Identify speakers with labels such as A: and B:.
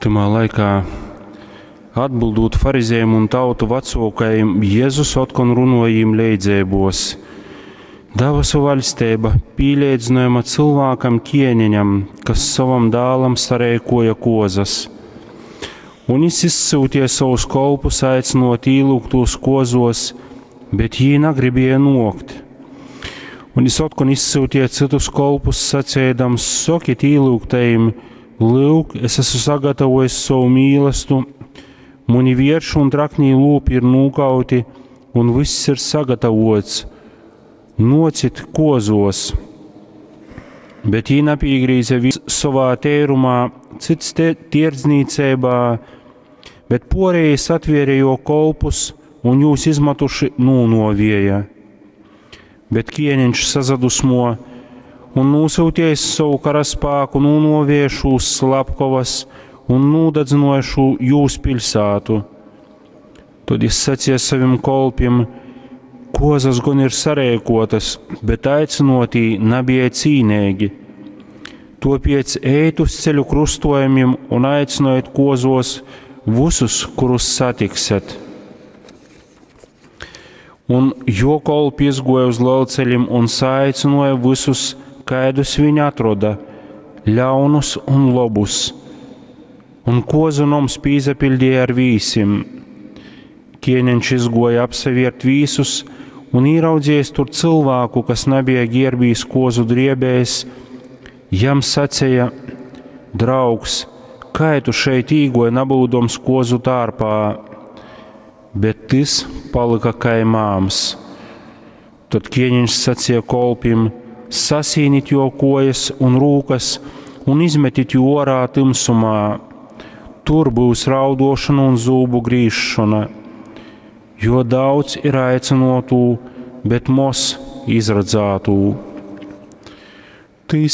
A: Tymā laikā, atbildūt farizejim un tautu vacōkajim, Jezus otkon runōja jim leidzeibōs. Dabasu vaļsteiba pīleidzynojama cylvākam kēneņam, kas sovam dālam sareikōja kōzas. Un jys izsyuteja sovus kolpus aicynōt īlyugtūs kōzōs, bet jī nagribēja nōkt. Un jys otkon izsyuteja cytus kolpus, saceidams: Sokit īlyugtajim, lyuk, es esmu sagatavojis sovu mīlastu, muni vierši un traknī lūpi ir nūkauti, un vyss ir sagatavots. Nōcit kōzōs! Bet jī napīgrīze vīns sovā teirumā, cyts tierdznīceibā, bet pōrejī satvēre jō kolpus un jūs izmatuši nūnōvēja. Bet kēniņš sasadusmuoja un nūsyutījis sovu karaspāku, nūnōvēja šūs slapkovas un nūdadzynuoja šū jūs piļsātu. Tod jis saceja sovim kolpim: Kuozas gon ir sareikuotas, bet aicynuotī nabija cīneigi. Tuopiec ejit uz ceļu krustojumim un aicynojit kuozuos vysus, kurus satiksiet. Un jo kolpi izguoja uz lelceļim un saaicynuoja vysus, kaidus viņi atroda, ļaunus un lobus. Un kuozu noms pīsapiļdīja ar vīsim. Kēniņš izguoja apsavērt vīsus un īraudzījis tur cylvāku, kas nabija gierbīs kozu driebēs, jam saceja: Draugs, kai tu šeit īgoji nabūdams kozu tārpā? Bet tys palyka kai māms. Tad ķēniņš sacīja kolpim: Sasīnit jo kojas un rūkas un izmetit jū ārā tumsumā. Tur būs raudošana un zūbu grīzšana, jo daudz ir aicinotu, bet moz izradzātū.